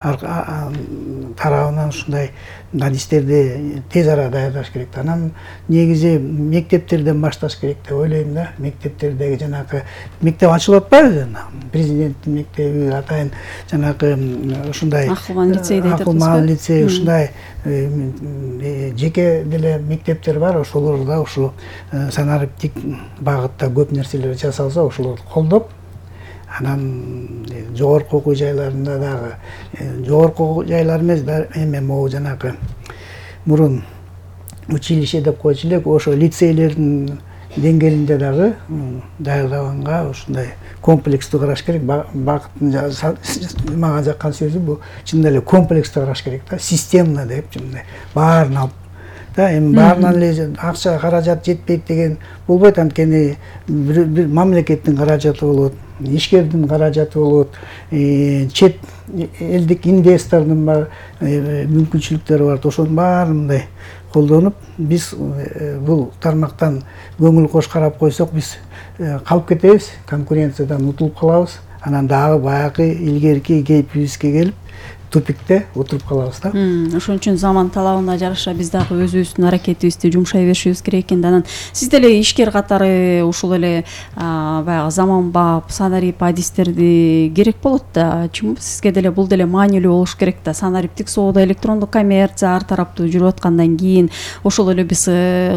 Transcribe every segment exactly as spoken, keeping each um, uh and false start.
тарабынан ушундай адистерди тез арада даярдаш керек. Анан негизи мектептерден башташ керек деп ойлойм да. Мектептердеги жанагы мектеп ачылып атпайбы? Президенттин мектеби, атайын жанагы ушундай Акылман лицей дейт. Акылман лицей ушундай жеке деле мектептер бар. Ошолорда ушу санариптик багытта көп нерселер жасалса, ошолорду колдоп, анан жогорку окуу жайларында дагы жогорку окуу жайлар эмес, эми могу жанагы мурун училище деп койчу элек, ошо лицейлердин деңгээлинде дагы даярдаганга ушундай комплекстүү караш керек. Багыттын мага жаккан сөзү бул чындап эле комплекстүү караш керек да, системно деп, мындай баарын алып да, эми баарынан эле акча каражат жетпейт деген болбойт. Анткени бир мамлекеттин каражаты болот, ишкердин каражаты болот, чет элдик инвестордун бар мүмкүнчүлүктөрү бар. Ошонун баары мындай колдонуп, биз бул тармактан көңүл кош карап койсок, биз калып кетебиз, конкуренциядан утулуп калабыз. Анан дагы баягы илгерки кейпибизге келип, тупикте отуруп калабыз да. Ошон үчүн заман талабына жараша биз дагы өзүбүздүн аракетибизди жумшай беришибиз керек экен. Анан сиз деле ишкер катары ушул эле баягы заманбап санарип адистерди керек болот да. Чынбы? Сизге деле бул деле маанилүү болуш керек да. Санариптик соода, электрондук коммерция ар тараптуу жүрүп аткандан кийин ошол эле биз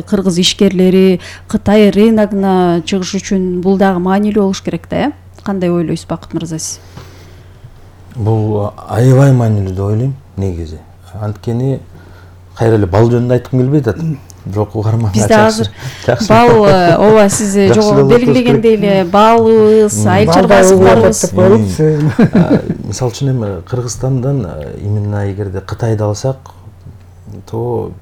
кыргыз ишкерлери Кытай рыногуна чыгыш үчүн бул дагы маанилүү болуш керек да, э? Кандай ойлойсуз, Бакыт мырза сиз? Бул аябай маанилүү деп ойлойм негизи. Анткени кайра эле бал жөнүндө айткым келбей атат. Бирок угарман бизде азыр бал, ооба, сиз жогору белгилегендей эле балыбыз, айыл чарбачылыктарыбыз. Мисалы үчүн эми Кыргызстандан именно эгерде Кытайды алсак, то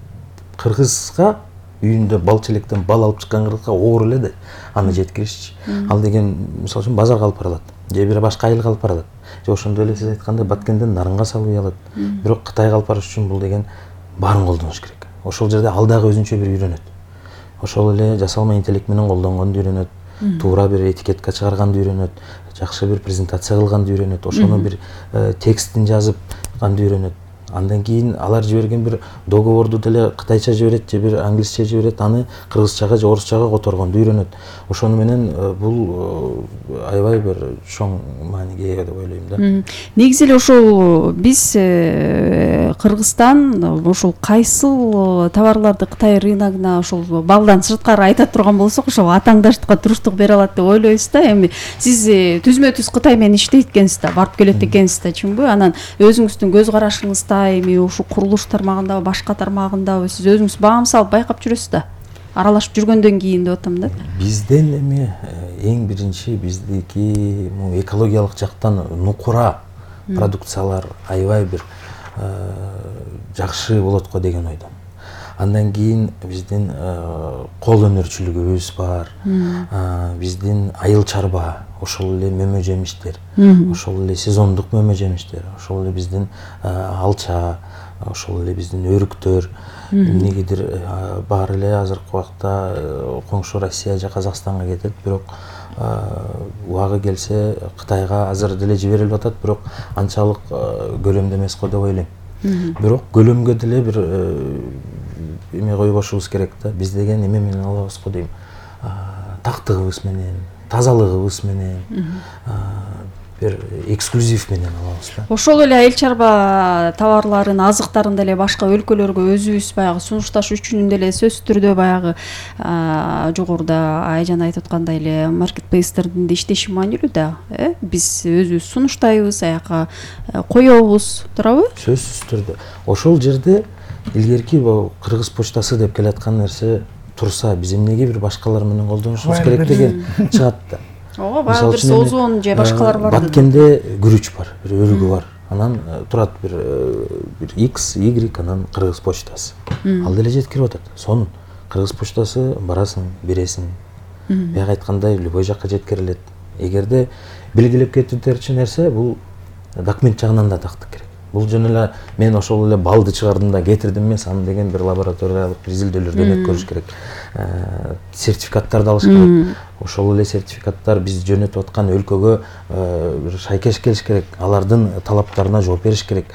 кыргызга үйүндө бал челектен бал алып чыккан кыргызга оор эле да аны жеткиришчи. Ал деген мисалы үчүн базарга алып барылат, же бир башка айылга алып барылат. Же ошондой эле сиз айткандай Баткенден нарынга салып үй алат. Бирок Кытайга алып барыш үчүн бул деген баарын колдонуш керек. Ошол жерде ал дагы өзүнчө бир үйрөнөт. Ошол эле жасалма интеллект менен колдонгонду үйрөнөт, туура бир этикетка чыгарганды үйрөнөт, жакшы бир презентация кылганды үйрөнөт, ошону бир текстин жазып ганды үйрөнөт. Андан кийин алар жиберген бир договорду деле кытайча жиберет же бир англисче жиберет, аны кыргызчага же орусчага которгонду үйрөнөт. Ошону менен бул аябай бир чоң мааниге ээ деп ойлойм да. Негизи эле ошол биз Кыргызстан ошол кайсыл товарларды Кытай рыногуна ошол балдан сырткары айта турган болсок, ошол атаңдаштыкка туруштук бере алат деп ойлойбуз да. Эми сиз түзмө түз Кытай менен иштейт экенсиз да, барып келет экенсиз да, чынбы? Анан өзүңүздүн көз карашыңызда эми ушул курулуш тармагындабы, башка тармагындабы сиз өзүңүз баам салып байкап жүрөсүз да, аралашып жүргөндөн кийин деп атам да. Бизден эми эң биринчи биздики экологиялык жактан нукура продукциялар аябай бир жакшы болот го деген ойдомун. Андан кийин биздин кол өнөрчүлүгүбүз бар, биздин айыл чарба, ошол эле мөмө жемиштер, ошол эле сезондук мөмө жемиштер, ошол эле биздин алча, ошол эле биздин өрүктөр. Эмнегедир баары эле азыркы убакта коңшу Россия же Казакстанга кетет, бирок убагы келсе Кытайга азыр деле жиберилип атат, бирок анчалык көлөмдө эмес го деп ойлойм. Бирок көлөмгө деле бир эме койбошубуз керек да. Биз деген эме менен алабыз го дейм. Тактыгыбыз менен, тазалыгыбыз менен, бир эксклюзив менен алабыз да. Ошол эле айыл чарба товарларын, азыктарын деле башка өлкөлөргө өзүбүз баягы сунушташ үчүн деле сөзсүз түрдө баягы жогоруда Айжан айтып аткандай эле маркетплейстердин да иштеши маанилүү да, э? Биз өзүбүз сунуштайбыз, аяка коебуз, туурабы? Сөзсүз түрдө. Ошол жерде илгерки бул Кыргыз почтасы деп келаткан нерсе турса, биз эмнеге бир башкалар менен колдонушубуз керек деген чыгат да. Ооба, баягы бир Озон же башкалар бар. Баткенде күрүч бар, бир өрүгү бар. Анан турат бир бир X, Y, анан Кыргыз почтасы. Ал деле жеткирип атат. Сонун Кыргыз почтасы барасың, бересиң. Бияка айткандай любой жакка жеткирилет. Эгерде белгилеп кетүүчү нерсе, бул документ жагынан да тактык керек. бул жөн эле мен ошол эле балды чыгардым да кетирдим эмес, аны деген бир лабораториялык бир изилдөөлөрдөн өткөрүш керек, сертификаттарды алыш керек. Ошол эле сертификаттар биз жөнөтүп аткан өлкөгө бир шайкеш келиш керек, алардын талаптарына жооп бериш керек.